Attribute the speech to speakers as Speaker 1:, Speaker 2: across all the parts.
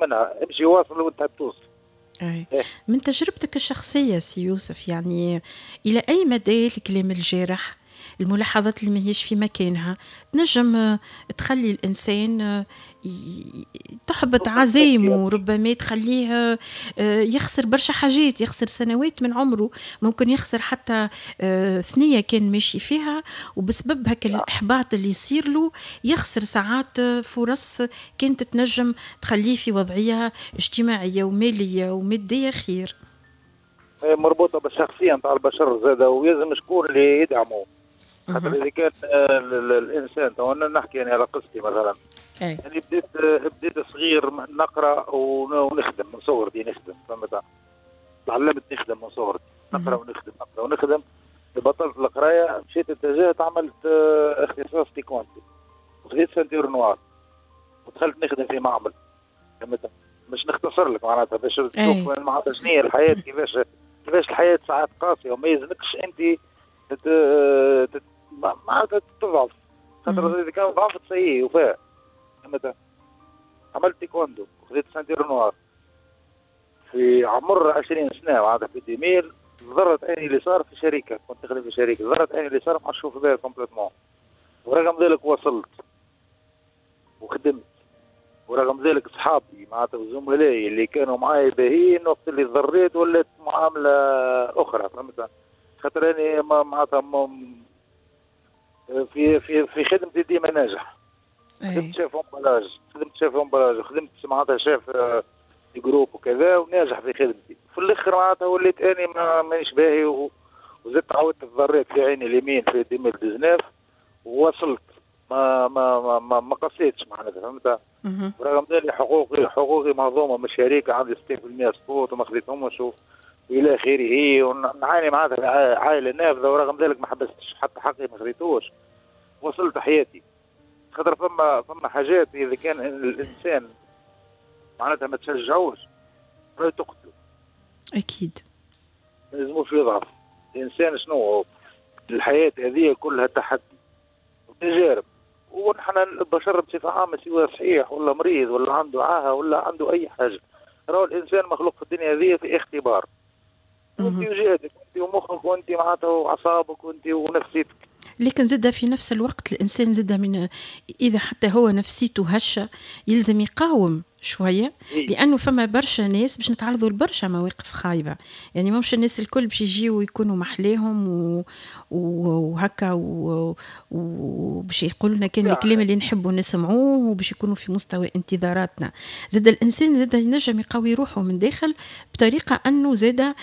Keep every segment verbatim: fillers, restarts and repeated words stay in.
Speaker 1: منها، امشي واصل وانت توصل.
Speaker 2: أي.
Speaker 1: إيه.
Speaker 2: من تجربتك الشخصية سي يوسف، يعني إلى أي مدى الكلام الجارح، الملاحظات اللي ماهيش في مكانها، تنجم آه، تخلي الإنسان آه، تحبط عزايمه، ربما تخليه آه، يخسر برشا حاجات، يخسر سنوات من عمره، ممكن يخسر حتى ثنية كان ماشي فيها، وبسبب هكا
Speaker 1: نعم.
Speaker 2: الإحباط اللي يصير له يخسر ساعات فرص كانت تنجم تخليه في وضعية اجتماعية ومالية ومادية خير.
Speaker 1: مربوطة بالشخصية نتاع البشر زاده، ويلزم شكون اللي يدعمه. خاطر اذا كان آه، الانسان، تو انا نحكي يعني على قصتي مثلا،
Speaker 2: أي.
Speaker 1: يعني بديت بديت صغير نقرا ونخدم من صغرتي، نخدم فهمت، تعلمت نخدم من صغرتي، نقرا ونخدم، نقرا ونخدم. بطلت القراية، مشيت اتجهت عملت آه، اختصاص تيكواندو وخذيت ceinture noire ودخلت نخدم في معمل، فهمت. باش نختصر لك معناتها باش تشوف معناتها شنو هي الحياه، كيفاش كيفاش الحياة ساعات قاسية وما يلزمكش انت تت... معناتها تضعف، خاطر اذا كان ضعفت ça y est وفاء، فهمت. عملت تيكوندو وخذيت ceinture noire في عمر عشرين سنه، معناتها في deux mille ضرت عيني اليسار في شركه، كنت نخدم في شركه، ضرت عيني اليسار ما نشوف بها complètement، ورغم ذلك وصلت وخدمت، ورغم ذلك صحابي معناتها زملائي اللي كانوا معايا باهيين وقت اللي ضريت ولات معاملة اخرى، فهمت. خاطر اني معناتها في في في خدمتي ديما ناجح. خدمت chef emballage، خدمت chef emballage، خدمت معناتها chef groupe وكذا، وناجح في خدمتي. في الاخر معناتها وليت اني مانيش باهي، وزدت عاودت تضريت في عيني اليمين في ألفين وتسعطاش ووصلت ما ما ما ما, ما قصيتش معناتها، فهمت. ورغم ذلك حقوقي حقوقي مهضومة من الشركه، عندي ستين في المية سقوط وما خذيتهمش والى اخره، ونعاني معناتها عائلة نافذه، ورغم ذلك ما حبستش، حتى حقي ما خذيتوش، وصلت حياتي. خاطر فما فما حاجات اذا كان الانسان معناتها ما تشجعوش راهي تقتله.
Speaker 2: اكيد.
Speaker 1: ما لازموش يضعف الانسان. شنو الحياة هذه كلها تحدي وتجارب، ونحن البشر بصفة عامه، سواء صحيح ولا مريض ولا عنده عاهة ولا عنده اي حاجه، راهو الانسان مخلوق في الدنيا هذه في اختبار، وانت وجهدك وانت ومخك وانت معناتها واعصابك وانت ونفسيتك.
Speaker 2: لكن زاد في نفس الوقت الانسان زاد من اذا حتى هو نفسيته هشه يلزم يقاوم شويه،
Speaker 1: إيه؟
Speaker 2: لانه فما برشا ناس باش نتعرضوا لبرشا مواقف خايبه، يعني مش الناس الكل باش يجيو يكونوا محلاهم و... وهكا وباش يقولوا لنا كان الكلام اللي نحبوا نسمعوه وباش يكونوا في مستوى انتظاراتنا. زاد الانسان زاد ينجم يقوي روحه من داخل بطريقة انه زاد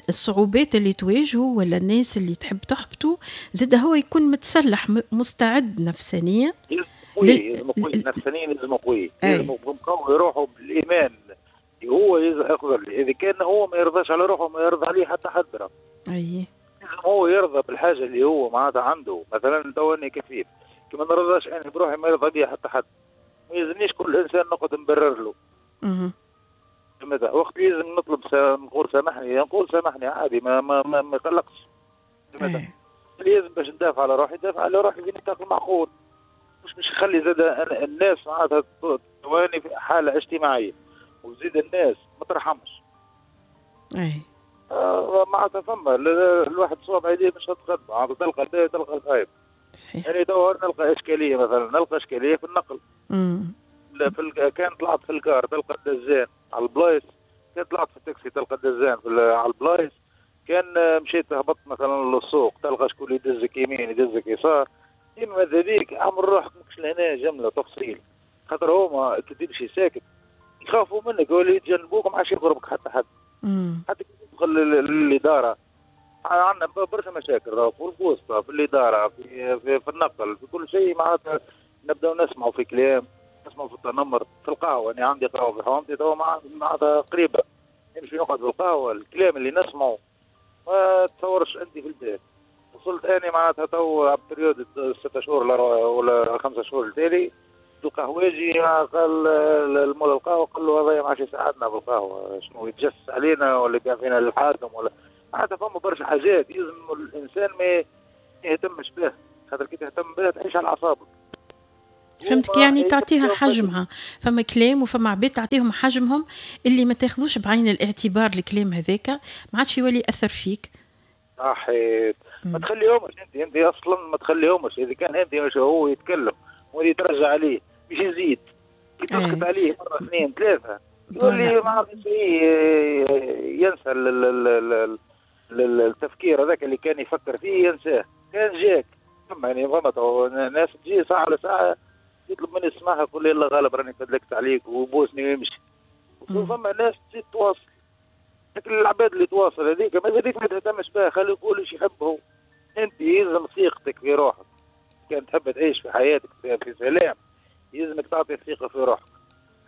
Speaker 2: الصعوبات اللي تواجهه ولا الناس اللي تحب تحبطه، زاد هو يكون متسلح، مستعد نفسانيا.
Speaker 1: قوي، لازم قوي نفسانيا، لازم قوي، لازم قوي روحه بالايمان. هو يقدر، اذا كان هو ما يرضاش على روحه ما يرضى عليه حتى حد.
Speaker 2: اي
Speaker 1: لازم هو يرضى بالحاجة اللي هو معناتها عنده. مثلا تو اني كفيف، كي ما نرضاش انا بروحي ما يرضى بي حتى حد. ما يلزمنيش كل انسان نقعد نبرر له. ماذا وقت لازم نطلب نقول سامحني، نقول سامحني عادي، ما ما ما, ما يقلقش. لازم باش ندافع على روحي ندافع على روحي في نطاق المعقول، مش مش نخلي زاد الناس معناتها تواني في حاله اجتماعيه، وزيد الناس ما ترحمش.
Speaker 2: اي
Speaker 1: آه معناتها فما الواحد صواب يديه مش تقدم، معناتها تلقى الباهي تلقى الخايب.
Speaker 2: صحيح.
Speaker 1: يعني تو نلقى اشكاليه، مثلا نلقى اشكالية في النقل.
Speaker 2: امم
Speaker 1: في ال... كان طلعت في ال car تلقى الدزان على البلايص، كان طلعت في التاكسي تلقى الدزان في على البلايص، كان مشيت هبطت مثلا للسوق تلقى شكون يدزك يمين يدزك يسار. ديما ماذا بيك عمل روحك ماكش لهنا جملة تفصيل، خاطر هما كي تمشي ساكت يخافوا منك ولا يتجنبوك، ما عادش يقربك حتى حد. حتى كي تدخل للادارة عندنا برشا مشاكل في البوسطه، في الاداره، في, في, في النقل، في كل شيء. معناتها نبداو نسمعوا في كلام، نسمعوا في التنمر في القهوه. انا عندي قهوة في حومتي تو معناتها قريبه، نمشي نقعد في القهوه، الكلام اللي نسمعه ما تصورش انت في البيت. وصلت اني معناتها تو période ستة شهور ولا خمسة شهور التالي، القهوجي قال المول القهوه، قال له هذا ما عادش يساعدنا بالقهوه، شنو يتجسس علينا ولا يبيع فينا للحاكم ولا معناتها. فما برشا حاجات يلزم الانسان ما يهتمش به، خاطر كي تهتم بها تعيش على اعصابك.
Speaker 2: فهمتك، يعني تعطيها حجمها، فما كلام وفما عباد تعطيهم حجمهم اللي ما تاخذوش بعين الاعتبار الكلام هذاك ما عادش يولي ياثر فيك.
Speaker 1: صحيت، ما تخليهمش انت انت اصلا ما تخليهمش. اذا كان انت مش هو يتكلم واللي ترجع عليه مش يزيد، كي تسكت عليه مرة اثنين ثلاثة يولي ما عادش ينسى التفكير هذاك اللي كان يفكر فيه ينساه. كان جاك فما يعني فما ناس تجي ساعة على ساعة يطلب مني السماحة يقول لي الله غالب راني فدلكت عليك وبوسني ويمشي. وفما ناس تزيد تواصل، لكن العباد اللي تواصل هذيك ما هذيك ما تهتمش بها، خليه يقول ايش يحب هو. انت يلزم ثقتك في روحك، كان تحب تعيش في حياتك في سلام يلزمك تعطي الثقة في روحك.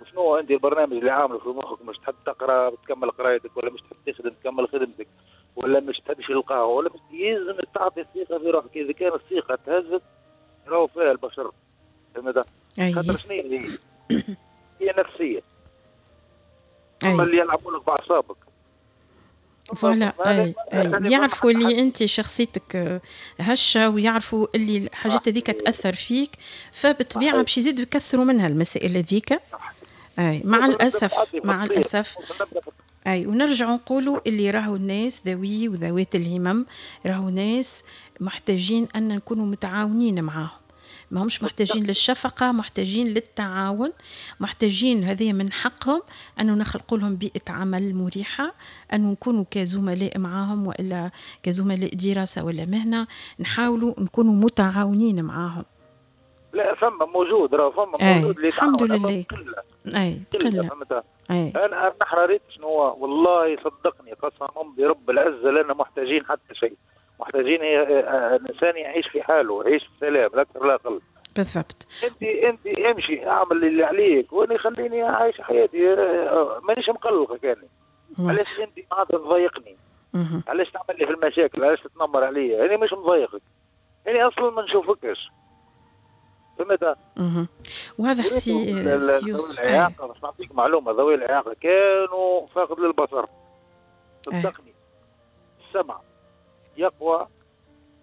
Speaker 1: وشنو انت البرنامج اللي عامله في مخك؟ مش تحب تقرا تكمل قرايتك، ولا مش تحب تخدم تكمل خدمتك، ولا مش تحب تمشي للقهوة، ولا مش يلزمك تعطي الثقة في روحك. اذا كان الثقة تهزت راهو فيها البشر، فهمت؟ خاطر شنو هي؟ هي نفسية. هما اللي يلعبوا لك باعصابك.
Speaker 2: voilà، اي اي يعرفوا اللي انت شخصيتك هشه، ويعرفوا اللي الحاجات هذيك تاثر فيك، فبالطبيعه باش يزيدوا يكثروا منها المسائل هذيك. اي مع الاسف، مع الاسف. اي ونرجعوا نقولوا اللي راهو الناس ذوي وذوات الهمم راهو ناس محتاجين ان نكونوا متعاونين معاهم، ما همش محتاجين للشفقة، محتاجين للتعاون، محتاجين هذه من حقهم أنه نخلق لهم بيئة عمل مريحة، أنه نكونوا كزملاء معاهم وإلا كزملاء دراسة ولا مهنة، نحاولوا نكونوا متعاونين معاهم.
Speaker 1: لا فما موجود، راه فما موجود اللي
Speaker 2: الحمد لله. أي قلة. أي.
Speaker 1: أنا نحن ريت شنو، والله صدقني قسما برب العزة لنا محتاجين حتى شيء، محتاجين الانسان يعيش في حاله، يعيش في سلام، لا اكثر لا اقل.
Speaker 2: بالضبط.
Speaker 1: انت انت امشي اعمل اللي عليك وانا خليني عايش حياتي، مانيش مقلقك انا. علاش انت معناتها تضايقني؟ علاش تعمل لي في المشاكل؟ علاش تتنمر عليا؟ انا مش مضايقك، انا اصلا ما نشوفكش. فهمت؟
Speaker 2: وهذا سي
Speaker 1: يوسف. الاعاقة باش نعطيك معلومة، ذوي الاعاقة كانوا فاقد للبصر. صدقني السمع يقوى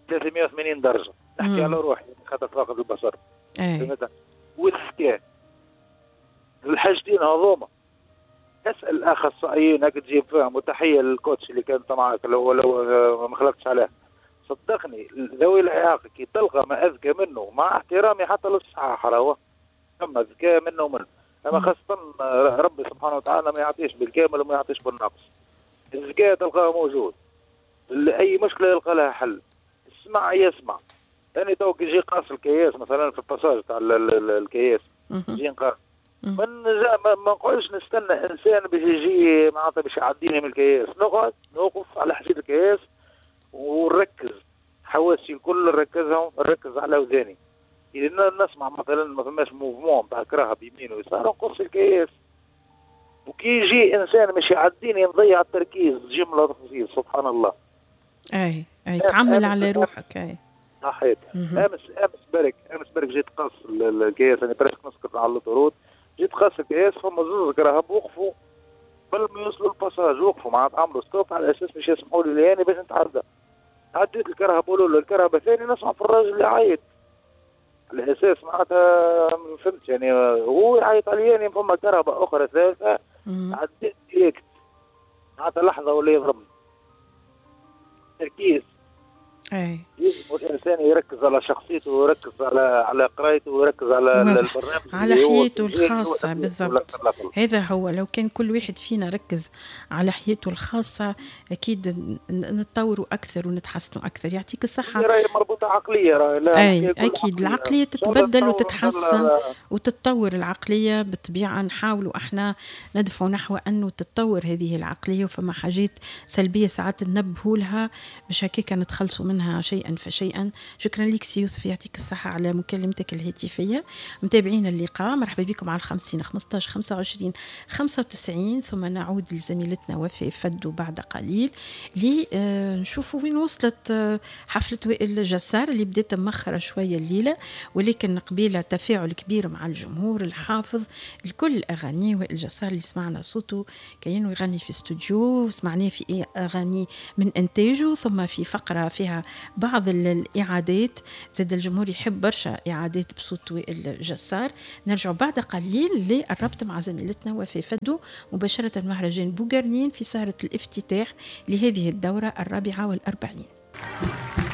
Speaker 1: ثلاثمية وثمانين درجة، نحكي على روحي خاطر فاقد البصر. فهمت؟ والذكاء، الحاجتين هذوما اسأل الأخصائيين هاك تجيب فيهم، وتحية للكوتش اللي كانت معاك لو لو ما خلقتش عليه. صدقني ذوي الإعاقة كي تلقى ما أذكى منه، مع احترامي حتى للصحاح راهو ثم ذكاء منه ومنه، أما خاصة ربي سبحانه وتعالى ما يعطيش بالكامل وما يعطيش بالنقص. الذكاء تلقاه موجود، اي مشكلة يلقى لها حل. اسمع يسمع. انا تو كي يجي قاص الكياس مثلا في ال passage تاع الكياس يجي نقاص، من ما نقعدش نستنى انسان باش يجي معناتها باش يعديني من الكياس، نقعد نوقف على حديد الكياس ونركز حواسي الكل، نركزهم، نركز على وذاني. اذا نسمع مثلا ما فماش mouvement تاع كراهة بيمين ويسار نقص الكياس. وكي يجي انسان باش يعديني نضيع التركيز جملة تفصيل، سبحان الله.
Speaker 2: اي اي تعمل على روحك. اي
Speaker 1: صحيت. امس امس برك امس برك جيت قص الكياس، انا برك نسكت على l'autoroute، جيت قص الكياس فما زوز كراهب وقفوا قبل ما يوصلوا ال passage، وقفوا معناتها عملوا stop على اساس باش يسمحوا لي لاني باش نتعدى. عديت الكرهبه الاولى الكرهبه الثانية نسمع في الراجل اللي يعيط على اساس معناتها فهمت يعني هو يعيط عليا يعني فما كرهبه اخرى ثالثة عديت direct معناتها لحظة ولا يضربني. تركيز.
Speaker 2: اي
Speaker 1: يجب الانسان يركز على شخصيته ويركز على على قرايته ويركز على البرنامج
Speaker 2: على حياته الخاصة. بالضبط، هذا هو. لو كان كل واحد فينا ركز على حياته الخاصة اكيد نتطوروا اكثر ونتحسنوا اكثر. يعطيك الصحة.
Speaker 1: راهي مربوطة عقلية، راهي لا
Speaker 2: اي اكيد العقلية تتبدل وتتحسن وتتطور العقلية بالطبيعة. نحاولوا احنا ندفعوا نحو انه تتطور هذه العقلية، وفما حاجات سلبية ساعات ننبهوا لها باش هكاك نتخلصوا منها شيئا فشيئا. شكرا لك سي يوسف، يعطيك الصحة على مكالمتك الهاتفية. متابعين اللقاء، مرحبا بكم على الخمسين خمسطاش خمسة وعشرين خمسة وتسعين، ثم نعود لزميلتنا وفاء فدو بعد قليل لنشوفوا وين وصلت حفلة وائل جسار اللي بدأت مأخرة شوية الليلة، ولكن قبيلة تفاعل كبير مع الجمهور الحافظ لكل أغاني وائل جسار اللي سمعنا صوته كأنه يغني في استوديو، سمعناه في أغاني من إنتاجه، ثم في فقرة فيها على بعض الاعادات. زاد الجمهور يحب برشا اعادات بصوت وائل جسار. نرجع بعد قليل للربط مع زميلتنا وفاء فدو مباشرة مهرجان بوغرنين في سهره الافتتاح لهذه الدورة الرابعة والاربعين.